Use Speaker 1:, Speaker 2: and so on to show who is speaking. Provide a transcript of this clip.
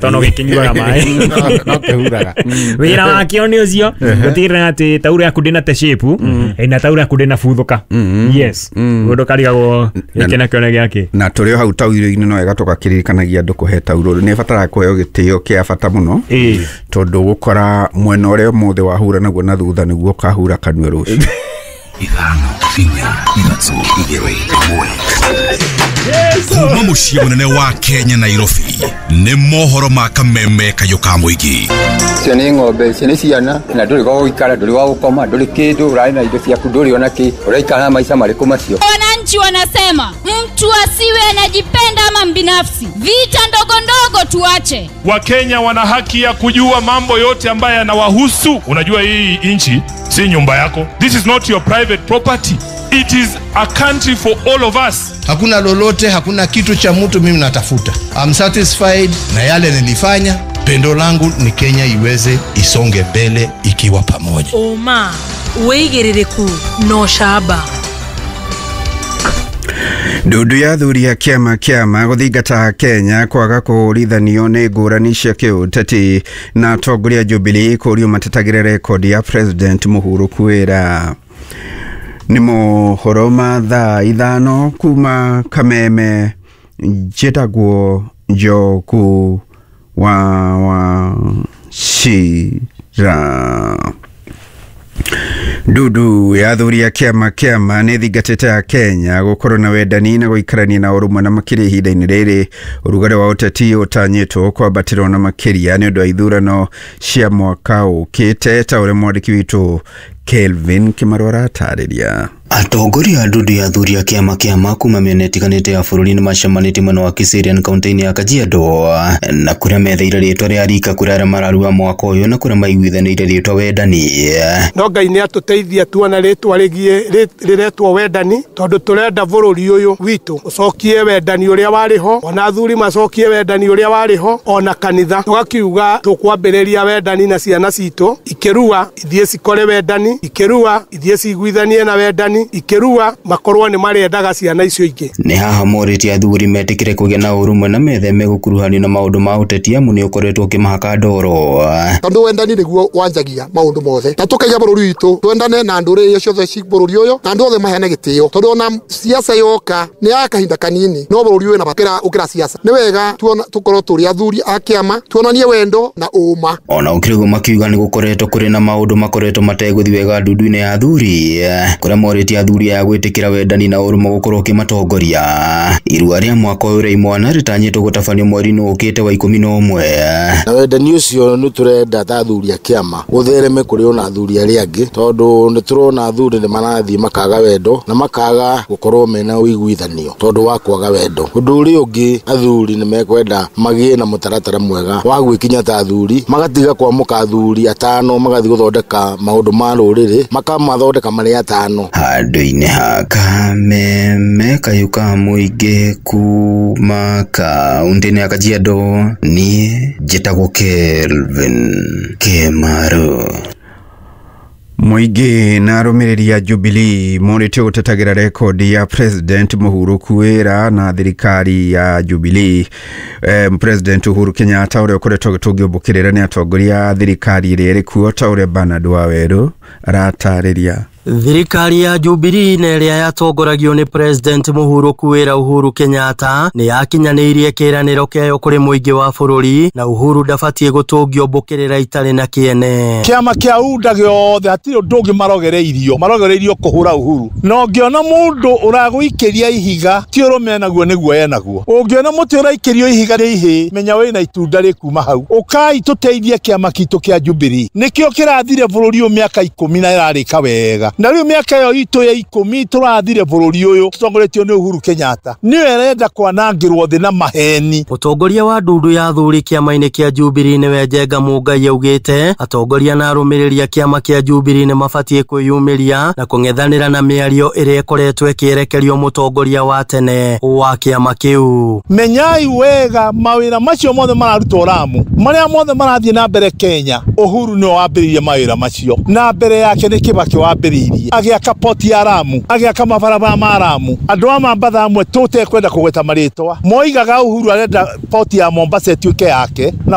Speaker 1: Tono gĩkĩnyuaga maĩ.
Speaker 2: No kĩhuraga.
Speaker 1: Wĩra wakĩo nĩ ũcio gũtigĩrĩra atĩ tauro yaku ndĩna te shape na tauro yaku ndĩna buthũka. Yes, ũndũ karigagwo gĩkĩ nakĩo nĩ gĩakĩ.
Speaker 3: Na tũrĩ o hau tauro-inĩ, no wega tũgakĩririkanagia andũ kũhe tauro nĩ ĩbataraga kũheo gĩtĩo kĩa bata mũno, tondũ gũkora mwena ũrĩa ũmũthĩ wahura naguo na thutha nĩguo ũkahura kanua rũciũ.
Speaker 4: 5, 4, 3, 2, 1. Kuma mũciĩ mũnene wa Kenya, Nairobi, nĩ mohoro ma Kameme kayũ ka mũingĩ.
Speaker 5: Icio nĩ ng'ombe, icio nĩ ciana, na ndũrĩ gwa gũikara, ndũrĩ gwa gũkoma, ndũrĩ kĩndũ, ũrarĩ na indo ciaku, ndũrĩ ona kĩ, ũraikara na maica marĩkũ macio?
Speaker 6: Wananchi wanasema mtu asiwe anajipenda ama mbinafsi. Vita ndogo ndogo tuache.
Speaker 7: Wakenya wana haki ya kujua mambo yote ambayo yanawahusu. Unajua hii nchi si nyumba yako. This is not your private property. It is a country for all of us.
Speaker 8: Hakuna lolote, hakuna kitu cha mtu mimi natafuta. I'm satisfied na yale nilifanya. Pendo langu ni Kenya iweze isonge mbele ikiwa pamoja.
Speaker 9: Ũma, wĩigĩrĩrĩku na ũcamba.
Speaker 3: Ndundu ya athuri a kĩama gũthingata Kenya kwaga kũhũrithanio nĩ ngũrani cia kĩũteti, na atongoria Jubilee kũrio matetagĩre rekondi ya President mũhurũku wĩra. Nĩ mohoro ma thaa 5 kuma Kameme. Njĩtagwo Njoku wa Wachira. Ndundu ya athuri a kĩama nĩ thingatĩte ya Kenya gũkorwo na wendani na gũikarania na ũrũmwe, na makĩria ihinda-inĩ rĩrĩ ũrugarĩ wa ũteti ũtanyĩtwo kwambatĩrwo na makĩria nĩ ũndũ wa ithurano cia mwaka ũkĩte, ta ũrĩa mwandĩki witũ Kelvin Kĩmarũ aratarĩria.
Speaker 10: Atongoria a ndundu ya athuri a kĩama kuma mĩena ĩtiganĩte ya bũrũri nĩ macemanĩtie mwena wa Kiserian kaunti-inĩ ya Kajiado, na kũrĩa metheire rĩtwa rĩa rika kũrĩ arĩa mararua mwaka ũyũ, na kũrĩa maiguithanĩire rĩtwa wendani.
Speaker 11: No Ngai nĩ atũteithia tuona rĩtwa rĩgiĩ rĩretwo wendani, tondũ tũrenda bũrũri ũyũ witũ ũcokie wendani ũrĩa warĩ ho, ona athuri macokie wendani ũrĩa warĩ ho, ona kanitha tũgakiuga tũkwambĩrĩria wendani na ciana citũ ikĩrua ithiĩ cikore wendani, ikĩrua ithiĩ ciguithanie na wendani, ikĩrua makorwo nĩ marĩendaga ciana icio ingĩ.
Speaker 10: Nĩ haha morĩtie athuri metĩkĩre kũgĩa na ũrũmwe na metheme gũkuruhanio na maũndũ ma ũteti, amu nĩ ũkoretwo ũkĩmahaka ndoro.
Speaker 12: Tondũ wendani nĩguo wanjagia maũndũ mothe, na tũkaiga bũrũri witũ twendane na ndũrĩrĩ iria ciothe ci bũrũri ũyũ, na andũ othe maheane gĩtĩo, tondũ ona siasa yoka nĩ ya kahinda kanini, no bũrũri ũyũ na ũkĩra siasa. Nĩ wega tũkorwo tũrĩ athuri a kĩama, tuonanie wendo na ũma.
Speaker 10: Ona ũkĩrĩ ũguo, makiuga nĩ gũkoretwo kũrĩ na maũndũ makoretwo mategũthiĩ wega ndundu-inĩ ya athuri, kũrĩa morĩtie athuri aya gwĩtĩkĩra wendani na ũrũmwe gũkorwo ũkĩmatongoria. Irua rĩa mwaka ũyũ rĩa imwana rĩtanyĩtwo gũtabanio mweri-inĩ ũkĩte wa 11.
Speaker 13: Na wendani ũcio nĩ tũrenda ta athuri a kĩama ũthereme kũrĩ ona athuri arĩa angĩ, tondũ nĩ tũrona athuri nĩ marathiĩ makaga wendo na makaga gũkorwo mena ũiguithanio tondũ wa kwaga wendo. Ũndũ ũrĩa ũngĩ, athuri nĩ mekwenda magĩe na mũtaratara mwega wa gwĩkinya ta athuri, magatiga kwamũka athuri atano magathiĩ gũthondeka maũndũ ma rũrĩrĩ, makamathondeka marĩ atano.
Speaker 10: Handũ-inĩ ha Kameme kayũ ka mũingĩ kuma kaunti-inĩ ya Kajiado, niĩ njĩtagwo Kelvin Kĩmaru.
Speaker 3: Mũingĩ na arũmĩrĩri a Jubilee morĩtio gũtetagĩra rekondi ya President mũhurũku wĩra na thirikari ya Jubilee. President Uhuru Kenyatta ũrĩa ũkoretwo agĩtũngio mbũkĩrĩra nĩ atongoria a thirikari ĩrĩa ĩrĩ kuo, ta ũrĩa Bernard Wawerũ aratarĩria.
Speaker 14: Thirikari ya Jubilee na ĩrĩa yatongoragio nĩ President mũhurũku wĩra Uhuru Kenyatta nĩ yakinyanĩirie kĩĩranĩro kĩayo kũrĩ mũingĩ wa bũrũri, na Uhuru ndabatiĩ gũtũngio mbũkĩrĩra itarĩ na kĩene.
Speaker 15: Kĩama kĩa UDA gĩothe hatirĩ ũndũ ũngĩ marogereirio, marogereirio kũhũra Uhuru. Na ũngĩona mũndũ ũragũikĩria ihiga ti ũrũme enaguo nĩguo enaguo. Ũngĩona mũtĩ ũraikĩrio ihiga rĩ ihĩ, menya wĩna itunda rĩkuma hau. Ũkai tũteithie kĩama kitũ kĩa Jubilee, nĩkĩo kĩrathire bũrũri ũyũ mĩaka 10 na ĩrarĩka wega. Na rĩu mĩaka ĩyo itũ ya 10 tũrathire bũrũri ũyũ tũtongoretio nĩ Uhuru Kenyatta, nĩwe ĩrenda kwanangĩrwo thĩ na maheni.
Speaker 14: Mũtongoria wa ndundu ya athuri kĩama-inĩ kĩa Jubilee nĩwe Njenga Mũngai augĩte atongoria na arũmĩrĩri a kĩama kĩa Jubilee nĩ mabatiĩ kwĩyumĩria na kũng'ethanĩra na mĩario ĩrĩa ĩkoretwo ĩkĩerekerio mũtongoria wa tene wa kĩama kĩu.
Speaker 15: Menyai wega mawĩra macio mothe mararutwo Lamu, marĩa mothe marathiĩ na mbere Kenya, Uhuru nĩwe wambĩrĩirie mawĩra macio, na mbere yake nĩ Kibaki wambĩrĩirie. ateithĩrĩirie agĩaka poti ya Lamu, agĩaka mabarabara ma Lamu. Andũ a Mambatha amwe tũtekwenda kũgweta marĩtwa moigaga Uhuru arenda poti ya Mombasa ĩtuĩke yake na